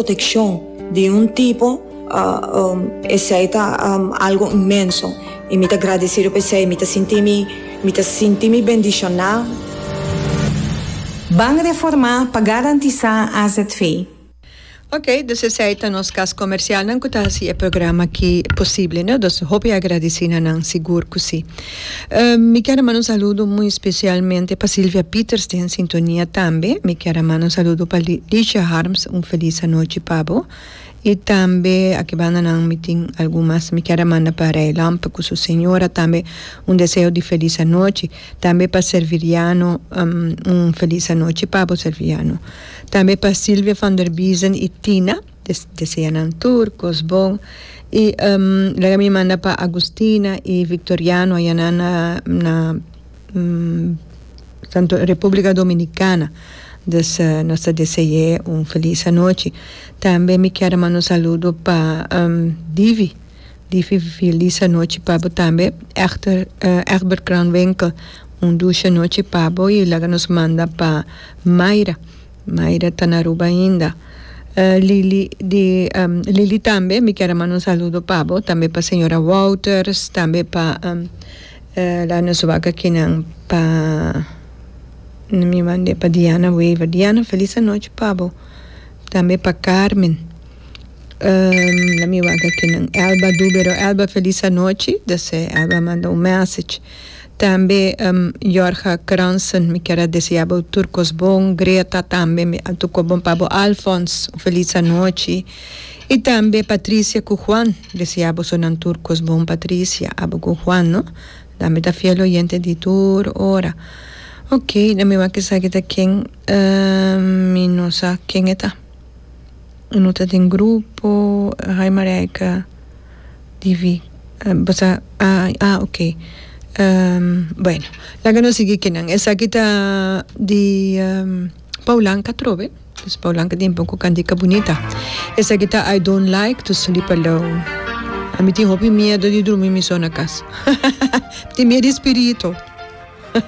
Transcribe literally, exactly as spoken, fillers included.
Proteccion di un tipo uh, um, esey ta um, algo inmenso y mi ta agradecido pa esey, mi ta sinti mi mi ta sinti mi bendiciona. Ban reforma pa garantisa A Z V. Ok, dus esey ta nos cas comercial nan cu ta haci e programa aki posibel, no? Dus hopi agradecido nan, sigur cu si. Uh, mi kier manda un saludo muy especialmente pa Silvia Peters, den sintonia tambe. Mi kier manda un saludo pa Licia Harms, un feliz anochi pa bo. Y tambe aki banda nan mi tin algun mas. Mi kier manda pa Ray Lampe cu su señora tambe un deseo di feliz anochi. Tambe pa Serviriano, um, un feliz anochi pa Serviriano. Tambe pa Silvia van der Biesen y Tina, des, desea nan tur cos bon. Y um, laga mi manda pa Agustina y Victoriano aya na na, na um, Santo Republica Dominicana. Dus uh, nos ta desea un feliz anochi. Tambe mi kier manda un saludo pa um, Divi. Divi, feliz anochi pa bo tambe. Echter, uh, Egbert Kranwinkel, un dushi anochi pa bo y laga nos manda pa Mayra. Mayra ta na Aruba ainda. Uh, Lili di um, Lili tambe, mi kier manda un saludo pa bo, tambe pa señora Wouters, tambe pa um, uh, laga nos wak aki nan pa mi manda pa Diana Weaver. Diana, feliz anochi pa bo. Tambe pa Carmen. Um, laga mi wak aki nan Elba Dubero. Elba, feliz anochi. Dus Elba a manda un message. Tambe um, Jorga Kransen, mi kier desea bo tur cos bon. Greta tambe, tur cos bon pa bo. Alphonse, feliz anochi. Y tambe Patricia cu Juan, desea bo tur cos bon, Patricia, abo cu Juan, no? Tambe ta fiel oyente di tur ora. Ok, laga mi wak esaki ta ken, uh, mi no sa ken e ta. No ta den grupo, hi Marijke, Divi, uh, basta, ah, ah, ok. Um, bueno, laga nos sigui cu nan. Esaki ta di um, Paulanka Trobe. Dus Paulanka tin poco cantica bunita. Esaki ta "I Don't Like to Sleep Alone". Ami tin hopi miedo di drumi mi so na cas. Tin miedo di spirito.